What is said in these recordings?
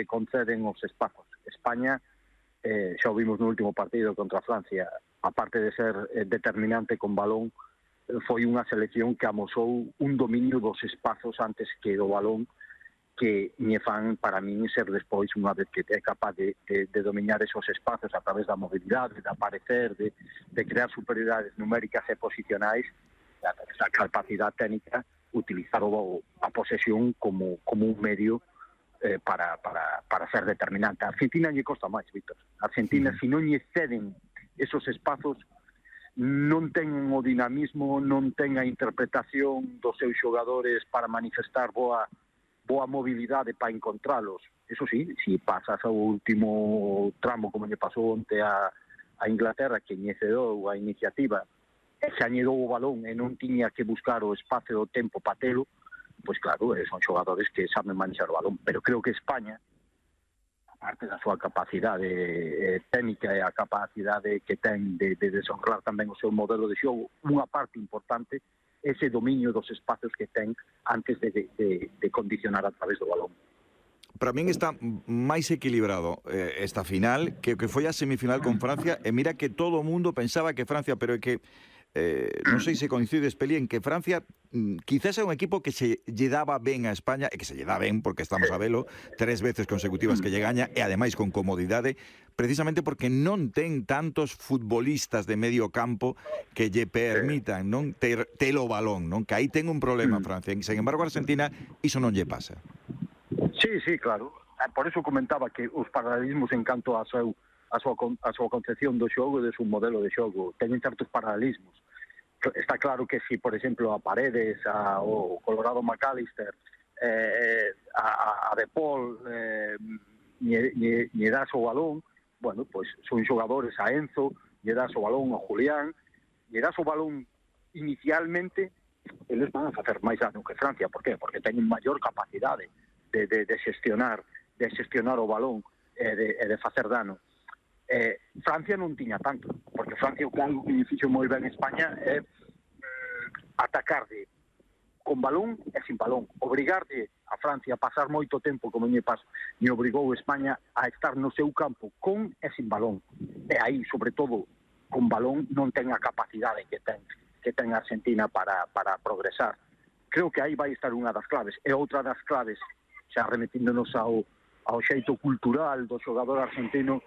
conceden os espazos. España, xa o vimos no último partido contra Francia, aparte de ser determinante con balón, foi unha selección que amosou un dominio dos espazos antes que do balón, que me fan, para min, ser despois, unha vez que é capaz de dominar esos espazos a través da mobilidade, de aparecer, de crear superioridades numéricas e posicionais, esa capacidade técnica, utilizar a posesión como un medio para ser determinante. A Argentina lle costa máis, Víctor. A Argentina, se non lle ceden esos espazos, non ten o dinamismo, non ten a interpretación dos seus xogadores para manifestar boa mobilidade para encontralos. Eso sí, se pasas ao último tramo, como lle pasou onte a Inglaterra, que lle cedou a iniciativa, e xa lle dou o balón e non tiña que buscar o espacio do tempo para telo, pois claro, son xogadores que saben manexar o balón. Pero creo que España, aparte da súa capacidade técnica e a capacidade que ten de desonrar tamén o seu modelo de xogo, unha parte importante ese dominio dos espacios que ten antes de condicionar a través do balón. Para min está máis equilibrado esta final que foi a semifinal con Francia, e mira que todo o mundo pensaba que Francia, pero é que non sei se coincides, Peli, en que Francia quizás é un equipo que se lle daba ben a España, e que se lle dá ben porque estamos a velo 3 veces consecutivas que lle gaña, e ademais con comodidade, precisamente porque non ten tantos futbolistas de medio campo que lle permitan non ter o balón, non? Que aí ten un problema Francia, e sen embargo Argentina iso non lle pasa. Sí, claro. Por eso comentaba que os paralelismos en canto a súa concepción do xogo e do seu modelo de xogo teñen certos paralelismos. Está claro que si, por exemplo, a Paredes, o Colorado McAllister, a De Paul lle das o balón, bueno, pois son xogadores, a Enzo, lle das o balón, a Julián, lle das o balón inicialmente, eles van a facer máis dano que Francia. Por qué? Porque teñen maior capacidade de gestionar o balón e de facer dano. Francia non tiña tanto, porque Francia o que algo que fixo moi ben España é atacarde con balón e sin balón, obrigarde a Francia a pasar moito tempo, como lle obrigou España a estar no seu campo con e sin balón, e aí, sobre todo, con balón non ten a capacidade que ten Argentina para progresar. Creo que aí vai estar unha das claves, e outra das claves, xa remetíndonos ao xeito cultural do xogador argentino,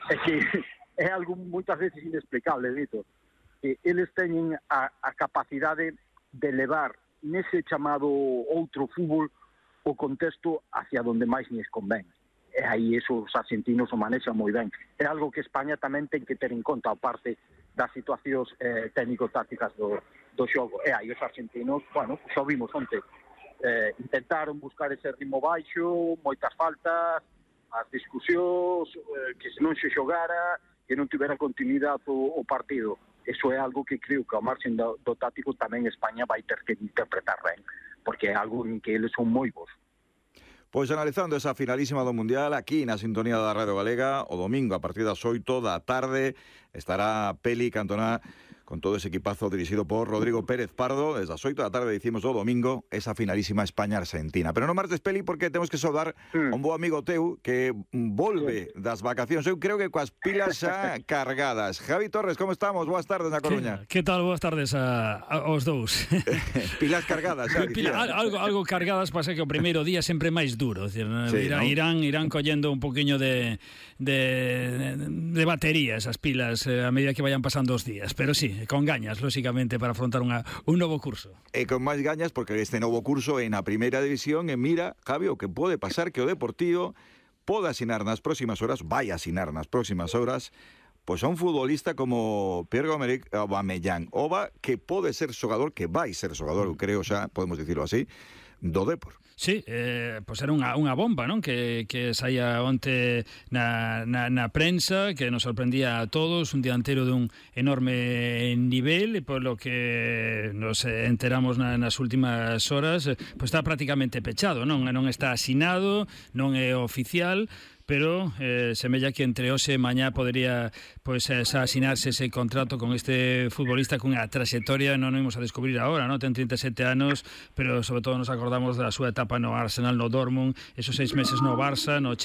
é que é algo moitas veces inexplicable, Víctor, que eles teñen a capacidade de levar nese chamado outro fútbol o contexto hacia donde máis lles convén. E aí esos argentinos o manexan moi ben. É algo que España tamén ten que ter en conta, aparte das situacións técnico-tácticas do xogo. E aí os argentinos, bueno, xa vimos onte, intentaron buscar ese ritmo baixo, moitas faltas, as discusións, que se non se xogara, que non tivera continuidade o partido. Eso é algo que creo que ao marxen do táctico tamén España vai ter que interpretar ben, porque é algo en que eles son moi bons. Pois analizando esa finalísima do Mundial aquí na sintonía da Radio Galega, o domingo a partir das 8 da tarde estará Peli Cantona con todo ese equipazo dirixido por Rodrigo Pérez Pardo. Desde as 8 da tarde dicimos o domingo esa finalísima España-Argentina. Pero non martes, Peli, porque temos que saudar a un bo amigo teu que volve das vacacións. Eu creo que coas pilas xa cargadas. Javi Torres, como estamos? Boas tardes na Coruña. Que tal? Boas tardes aos dous. Pilas cargadas, xa dicía. Algo cargadas, pasa que o primeiro día sempre máis duro. Decir, sí, irán collendo un poquinho de batería esas pilas a medida que vayan pasando os días. Pero sí, con gañas, lóxicamente, para afrontar un novo curso. E con máis gañas, porque este novo curso é na primeira división, e mira, Javi, o que pode pasar que o Deportivo pode asinar nas próximas horas, vai asinar nas próximas horas, pois a un futbolista como Pierre-Emerick Aubameyang, que pode ser xogador, que vai ser xogador, eu creo xa, podemos dicirlo así, do Depor. Sí, pois era unha bomba, non? Que saía onte na prensa, que nos sorprendía a todos, un dianteiro dun enorme nivel, e polo que nos enteramos nas últimas horas, pois está prácticamente pechado, non está asinado, non é oficial, pero semella que entre hoxe e mañá podería pois asinarse ese contrato con este futbolista cunha trayectoria, non imos a descubrir agora, non? Ten 37 anos, pero sobre todo nos acordamos da súa etapa no Arsenal, no Dortmund, esos 6 meses no Barça, no